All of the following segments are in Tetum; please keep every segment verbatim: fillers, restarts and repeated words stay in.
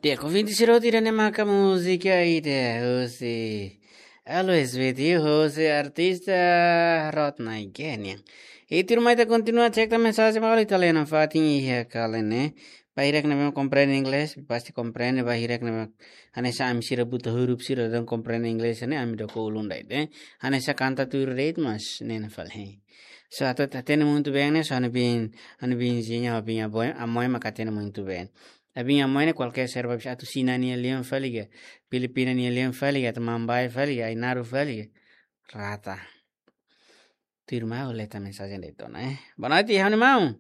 Di'ak, ouvinte sira hotu, ida-ne'e maka múzika ida husi Always With You, husi artista Rodney Kenyan. I tuirmai ita kontinua cek tan mensajen balu italiana fatin iha kalen ne'e. Ba hirak ne'ebé komprende inglés, pasti komprende, ba hirak ne'ebé hanesan ami sira buta huruf sira daudaun komprende inglés ne'e, ami doko ulun dai de. Hanesan kanta tuir de'it mas ne'e fali. So, atu hatene muito bem ne'e, so ha'u-nia biin, ha'u-nia biinzinha, ha'u-nia biin-amoi, amoi maka hatene muito bem. Ha'u-nia biin-amoi ne'e kualkér serba bisa, atu Xina nia lian fali ka, Filipina nia lian fali ka, atu Mambae fali ka, Ainaro fali ka, rata. Tuirmai ha'u lee tan mensajen de'it ona, eh. Boa noite, ha'u-nia maun.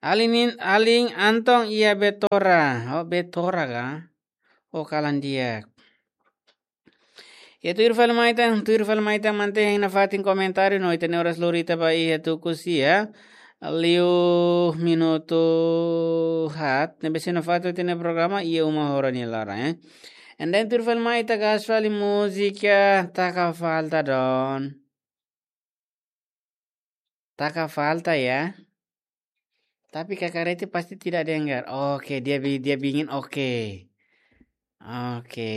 Alin, alin Anton iha Betora. Oh, Betora ka? Oh, kalan di'ak. Iha tuir fali mai tan, tuir fali mai tan, mantein nafatin komentáriu no ita-nia oras lori ita ba iha tuku sia liu minutu haat, ne'ebé sei nafatin ita-nia programa iha uma hora nia laran, eh. And then tuir fali mai ita gas fali múzika Taka Falta Don. Taka Falta ya. Tapi Kak Reti pasti tidak dengar. Oke, dia bi-, dia biin oke. Oke.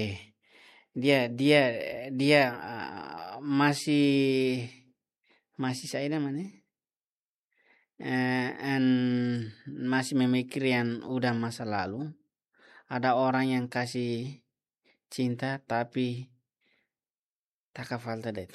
Dia, dia, dia, ah, masih, masih saya namanya. Eh, and masih memikir yang udah masa lalu. Ada orang yang kasih cinta, tapi taka falta de'it.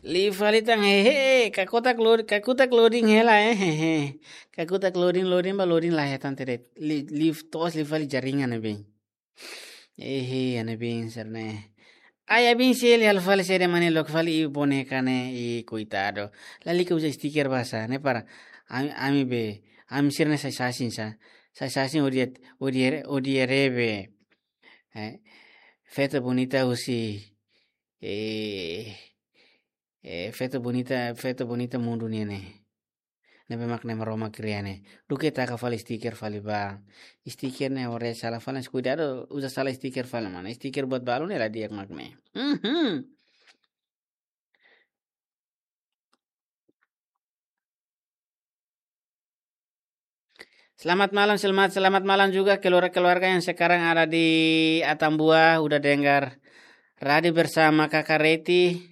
Liu fali tan, hehe, kakutak lod-, kakutak loading hela, eh, hehe. Kakutak loading, loading ba loading la hetan de'it. Li-, liu to'os liu fali jaringan ne'ebé. Ehe, ha'u-nia biin sira-ne'e. Ai, ha'u-nia biin sira halo fali sede mane loke fali iha boneka ne'e, i koitadu. Lalika uza stiker basa, ne'e para ami, ami be, ami sira-ne'e sai sasin sa. Sai sasin odia, odia, odia rebe. Eh, feto bonita husi, eh, eh, feto bonita, feto bonita mundu nian ne'e. Ne'ebé mak ne'e Maromak kria ne'e. Duké taka fali stiker fali ba. Stiker ne'e ore sala fali, kuidadu uza sala stiker fali mana. Stiker buat balu ne'e la di'ak mak ne'e. Mhm. Selamat malam, selamat, selamat malam juga keluarga-keluarga yang sekarang ada di Atambua, udah dengar Radio Bersama Kakak Reti.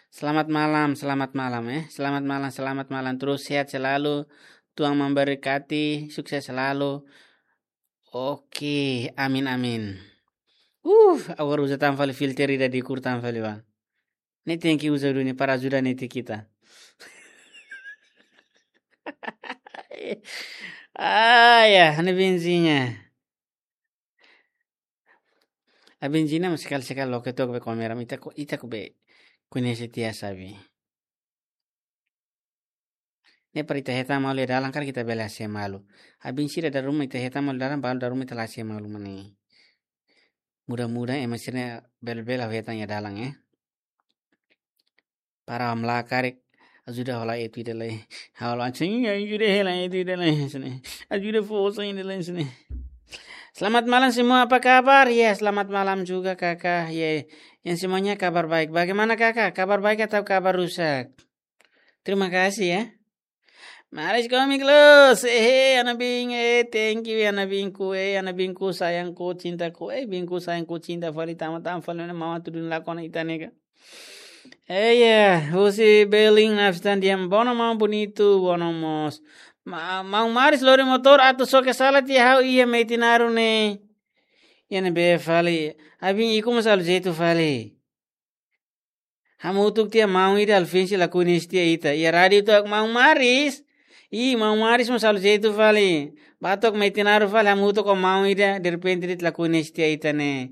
Selamat malam, selamat malam, eh. Selamat malam, selamat malam. Terus sehat selalu. Tuhan memberkati, sukses selalu. Oke, amin, amin. Uh, agora uza tan fali filter ida di'ak tan fali ba. Ne'e tenke uza duni para ajuda netik ita. Ah, ya, ha'u-nia biinzinha. Ha'u-nia biinzinha mas sekali-sekali loke took be kamera, ita ko, ita ko be koñese tiha sabi. Ne'e para ita hetan malu iha dalan karik ita bele hase'e malu. Ha'u-nia biin sira dala ruma ita hetan malu dalan, balu dala ruma ita la hase'e malu mane. Mudah-mudahan ema sira-ne'e bele-bele ha'u hetan iha dalan, eh. Para amla karik ajuda hola etu ida lai. Hola anjing ajuda hela etu ida lai sini. Ajuda fosa ida lai sini. Selamat malam semua, apa kabar? Ya, selamat malam juga, Kakak. Ya, yang semuanya kabar baik. Bagaimana, Kakak? Kabar baik atau kabar rusak? Terima kasih, ya. Maris Komik Los, eh, ha'u-nia biin, eh, thank you, ha'u-nia biinku, eh, ha'u-nia biinku, sayangku, cintaku, eh, biinku, sayangku, cinta fali, tama-tama fali, mana mama tudun lakon ita-nia ka. Eh, ya, husi Beling Nafstan diam, bono mau bonitu, bono mós. Ma-, mau Maris lori motór atu soke sala tiha ha'u iha Metinaro ne'e. Iha ne'ebé fali, ha'u-nia biin ikus mós halo jeitu fali. Hamutuk tiha maun ida alfinsi lakohi ne'e tiha ita. Iha rádiu to'o maun Maris. I maun Maris mós halo jeitu fali. Bá to'o Metinaro fali hamutuk ho maun ida derrepente de'it lakohi ne'e tiha ita ne'e.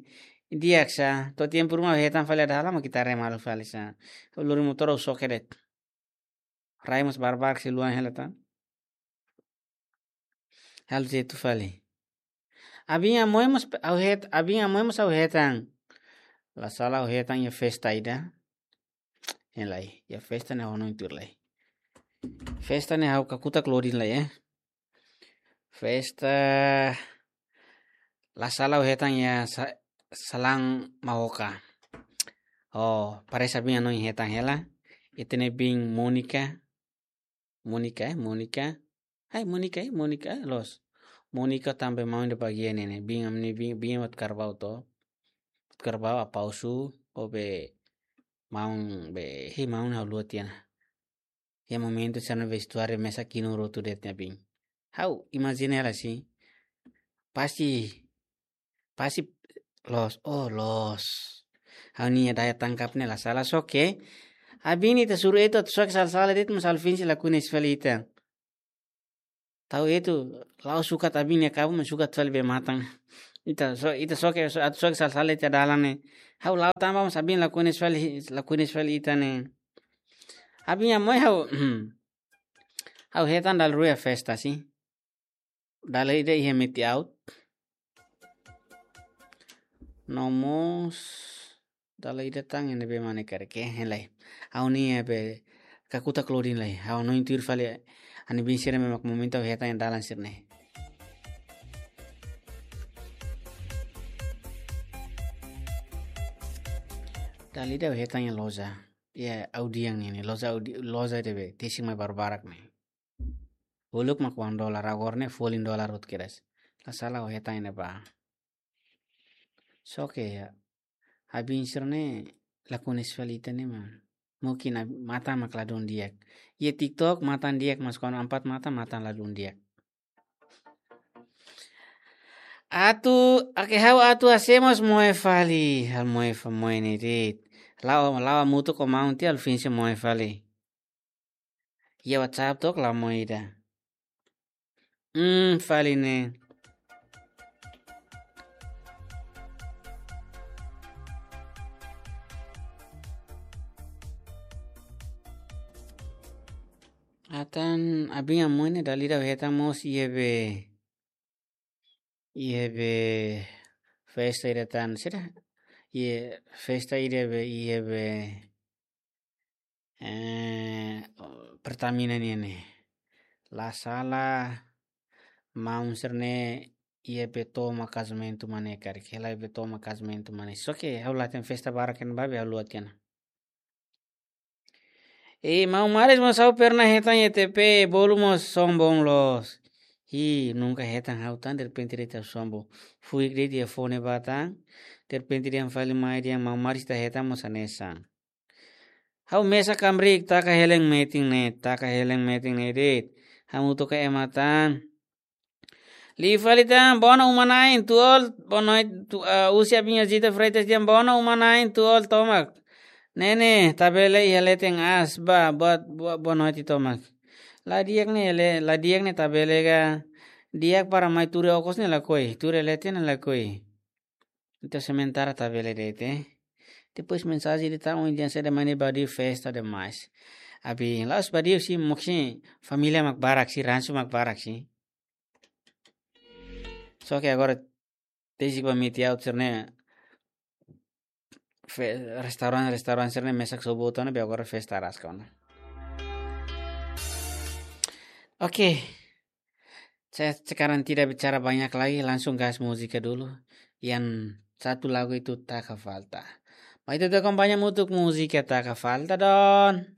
Di'ak sa. To'o tempu ruma hetan fali ada halama kita rema fali sa. Lori motór ha'u soke de'it. Rai mós barbarak sei luan hela tan. Halo jeitu fali. Ha'u-nia biin-amoi mós pe-, ha'u het-, ha'u-nia biin-amoi mós ha'u hetan. La sala ha'u hetan iha festa ida. Iha lai, iha festa ne'e ha'u hanoin tuir lai. Festa ne'e ha'u kakutak loading lai, eh. Festa la sala ha'u hetan iha sa-, Salang Maoka. Oh, parese abin hanoin hetan hela. Ita-nia biin Monica. Monica, eh, Monica. Hai, Monica, eh, Monica, eh, loos. Monica tanba maun ida bagian ne'e ne'e. Biin ami-nia biin, biin buat Carvalho to. Buat Carvalho, Apausu, ho be maun be, hei, maun ha'u haluha tiha ona. Iha momentu sira-ne'e vestuáriu mesak kinur hotu de'it nia biin. Ha'u imajina hela sin. Pasti, pasti loos, oh, loos. Ha'u-nia daya tangkap ne'e la sala, só ke abin ita suru etu atu soke sala-sala de'it, mas Alvin sei lakohi husi fali ita. Tau etu, la'o sukat abin nia kabun, mas sukat fali bee-matan. Ita so, ita soke, so, atu soke sala-sala ita dalan ne'e. Ha'u la'o tanba, mas abin lakohi husi fali, lakohi husi fali ita ne'e. Abin iha moe ha'u, ha'u hetan dala rua iha festa sin. Dala ida iha Meti Out. No mós dala ida tan ne'ebé mak ne'e karik, eh, hein lai. Ha'u-nia be kakutak lodin lai. Ha'u hanoin tuir fali ha'u-nia biin sira-ne'e mak momentu ha'u hetan iha dalan sira-ne'e. Dala ida ha'u hetan iha loja. Iha Audiang ne'e ne'e. Loja Audi-, loja ida be tesik mai barak-barak ne'e. Uluk mak wan dolar, agora ne'e folin dolar hotu kedas. La sala ha'u hetan iha ne'ebá. Só ke iha abin sira-ne'e lakohi husi fali ita ne'e mak. Mungkin ab-, matan mak ladún di'ak. Iha TikTok matan di'ak, mas kuandu ampat matan, matan ladún di'ak. Atu, oke, ha'u atu hamoos moe fali, ha'u moe fa-, moe ne'e de'it. La'o, la'o hamutuk ho maun tiha Alvin sei moe fali. Iha WhatsApp to'ok la moe ida. Hmm, fali ne'e. Atan abin iha moe ne'e dala ida ha'u hetan mós iha be. Iha be festa ida tan sira. Iha festa ida be, iha be, eh, Pertamina nian ne'e. La sala maun sira-ne'e iha be tomak kazamentu mak ne'e karik. Hela be tomak kazamentu mak ne'e. Só ke ha'u la hatene festa barak iha ne'ebá be ha'u haluha tiha ona. Eh, maun Maris mós ha'u pernah hetan iha T P, bolu mós sombong loos. Ih, nunka hetan ha'u tan, derrepente de'it ha'u sombong. Fuik de'it iha fone ba tan, derrepente dehan fali mai dehan maun Maris ita hetan mós hanesan. Ha'u mesak kamrik, taka hela iha metin ne'e, taka hela iha metin ne'e de'it. Hamutuk ho ema tan. Liu fali tan, bono uma-na'in, tuul, bono tu, ah, husi abin Zita Freitas dehan, bono uma-na'in, tuul tomak. Ne'e ne'e, tabele iha leten aas, ba, buat, buat, boa noite tomak. La di'ak ne'e, le, la di'ak ne'e tabele ka, di'ak para mai tuur iha okos ne'e lakohi, tuur iha leten ne'e lakohi. Entaun sementara tabele de'it. Depois mensajen ida tan, ohin dehan saida mak ne'e badiu festa demais. Abin, la'ós badiu sin, mungkin família mak barak sin, ransu mak barak sin. Só ke agora, desde que permite auto, né? Fe-, restaurante, restaurante, sira-ne'e mesak sobu tan, be agora festa rasca, né? Oke. Saya sekarang tidak bicara banyak lagi, langsung gas música dulu. Yang satu lagu itu Taka Falta. Mai ita akompaña hamutuk múzika Taka Falta, don.